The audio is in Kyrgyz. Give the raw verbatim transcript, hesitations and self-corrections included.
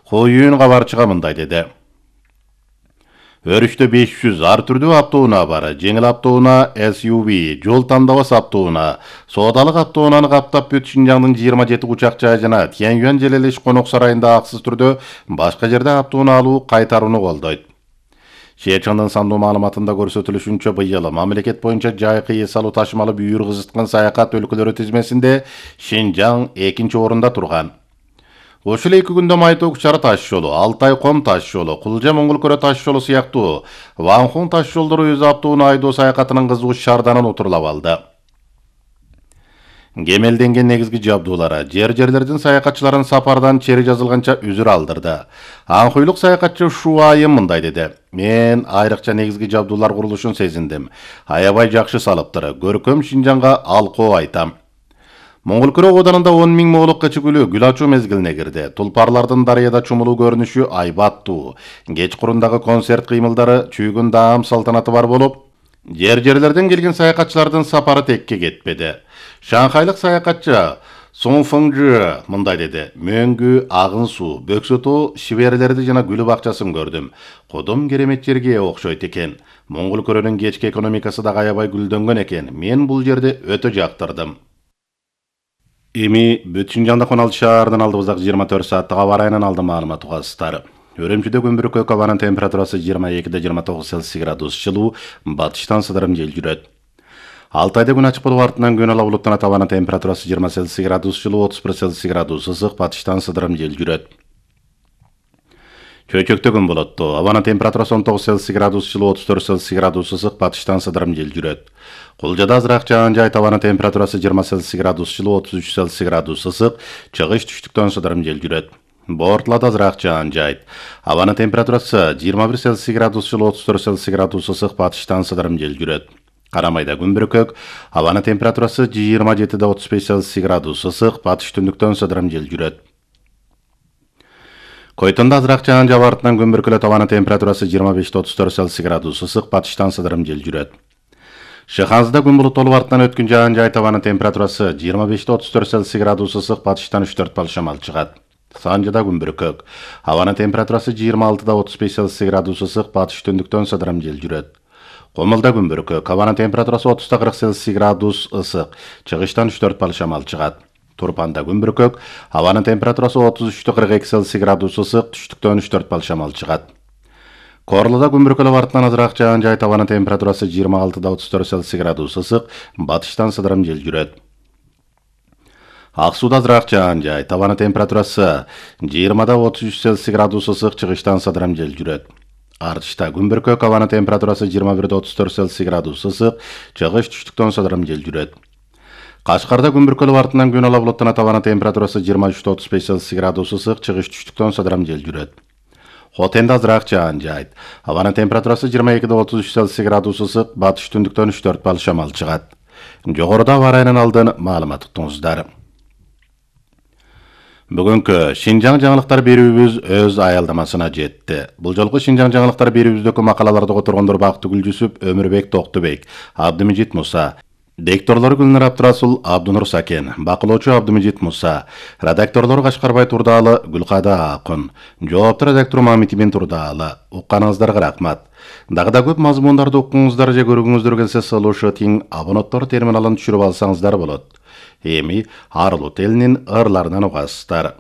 Коюн кабарчыга мындай деди. Өрүштө беш жүз ар түрдүү автоунаа бар. Жеңил автоунаа, эс ю ви, жол тандабас автоунаа, соодалык автоунааны каптап бүт Шинжаңдын жыйырма жети учак жай жана Тяньюань Желелеш конок сарайында аксыз түрдө башка жерде автоунаа алуу кайтарууну колдойт. Шээрчандын сандуу маалыматында көрсөтүлүшүнчө быйыл мамлекет боюнча жайкы эс алуу ташымалы бүйүр кызыткан саякат өлкөлөрү тизмесинде Шинжаң экинчи орунда турган. Ошол эки күндө Майток Чара таш жолу, Алтай Ком таш жолу, Кулжа Моңгол Көрө таш жолу сыяктуу Ванхун таш жолдору өз автоунаа айдоо саякатынын кызуу шаарданын отурлап алды. Кемелденген негизги жабдуулары жер-жерлердин саякатчыларын сапардан чери жазылганча үзүр алдырды. Анхуйлук саякатчы Шу Айым мындай деди. Мен айрыкча негизги жабдуулар курулушун сезиндим. Аябай жакшы салыптыр. Көркөм Шинжаңга алкоо айтам. Моңгол Көрө оданында он миң моолук кычыгүлү гүл ачуу мезгилине кирди. Тулпарлардын дарыяда чумулуу көрүнүшү айбаттуу. Кечкурундагы концерт кыймылдары чүйгүн даам салтанаты бар болуп, жер-жерлерден келген саякатчылардын сапары текке кетпеди. Шанхайлык саякатчы Сон Фыңжы мындай деди. Мөңгү, агын суу, бөксөтөө, шиберлерди жана гүл бакчасын көрдүм. Кодом керемет жерге окшойт экен. Моңгол Көрөнүн кечки экономикасы да аябай гүлдөнгөн экен. Мен бул жерди өтө жактырдым. Эми бүт Шинжаңда он алты шаардын алдыбыздагы жыйырма төрт сааттык аба ырайынын алды маалымат угасыздар. Өрөмчүдө көмбүрөккө абанын температурасы жыйырма экиде жыйырма тогуз Цельсий градус жылуу, батыштан сыдырым жел жүрөт. Алтайда күн ачык болуп артынан күн ала булуттанат, абанын температурасы жыйырма Цельсий градус жылуу, отуз бир Цельсий градус ысык, батыштан сыдырым жел жүрөт. Чөйчөктө күн болоттуу, абанын температурасы он тогуз Цельсий градус жылуу, отуз төрт Цельсий градус ысык, батыштан сыдырым жел жүрөт. Кулжада азыраак жаан жай, абанын температурасы жыйырма Цельсий градус жылуу, отуз үч Цельсий градус ысык, чыгыш түштүктөн сыдырым жел жүрөт. Бортулада азыраак жаан жайт. Абанын температурасы жыйырма бир Цельсий градус жылуу, отуз төрт Цельсий градус ысык, батыштан сыдырым жел жүрөт. Карамайда күн бүркөк, абанын температурасы жыйырма жетиде отуз беш Цельсий градус ысык, батыш түндүктөн сыдырым жел жүрөт. Койтонда азыраак жаан жаап артынан күн бүркөлөт, абанын температурасы жыйырма беште отуз төрт Цельсий градус ысык, батыштан сыдырым жел жүрөт. Шыханзыда күн булуттуу артынан өткөн жаан жай, абанын температурасы жыйырма беште отуз төрт Цельсий градус ысык, батыштан үч төрт балл шамал чыгат. Санжыда күн бүркөк, абанын температурасы жыйырма алтыда отуз беш Цельсий градус ысык, батыш түндүктөн сыдырым жел жүрөт. Комулда күн бүркөк, абанын температурасы отузда кырк Цельсий градус ысык, чыгыштан үч төрт балл шамал чыгат. Турпанда күн бүркөк, абанын температурасы отуз үчтө кырк эки Цельсий градус ысык, түштүктөн үч төрт балл шамал чыгат. Корлуда күн бүркөлөп артынан азыраак жаан жайт, абанын температурасы жыйырма алтыда отуз төрт Цельсий градус ысык, батыштан сыдырым жел жүрөт. Аксууда азыраак жаан жайт, абанын температурасы жыйырмада отуз үч Цельсий градус ысык, чыгыштан сыдырым жел жүрөт. Артышта күн бүркөк, абанын температурасы жыйырма бирде отуз төрт Цельсий градус ысык, чыгыш түштүктөн сыдырым жел жүрөт. Кашкарда күн бүркөлөп артынан күн ала булуттанат, абанын температурасы жыйырма үчтө отуз беш Цельсий градус ысык, чыгыш түштүктөн сыдырым жел жүрөт. Хотенде азыраак жаан жайт, абанын температурасы жыйырма экиде отуз үч Цельсий градус ысык, батыш түндүктөн үч төрт балл шамал чыгат. Жогоруда аба ырайынын алдын маалымат уктуңуздар. Бүгүнкү Шинжаң жаңылыктар берүүбүз өз аялдамасына жетти. Бул жолку Шинжаң жаңылыктар берүүбүздөгү макалаларды которгондор Бактыгүл Жүсүп, Өмүрбек Токтубек, Абдымежит Муса, Дикторлор Гүлнар Абдырасул, Абдунур Сакен, бакылоочу Абдымежит Муса, редакторлор Кашкарбай Турдаалы, Гүлкада Акын, жоопту редактор Мамитибин Турдаалы. Укканыңыздарга рахмат. Дагы да көп мазмундарды уккуңуздар же көргүңүздөр келсе сылуушу тиң абоненттор терминалын түшүрүп алсаңыздар болот. Эми арылуу телинин ырларынан угасыздар.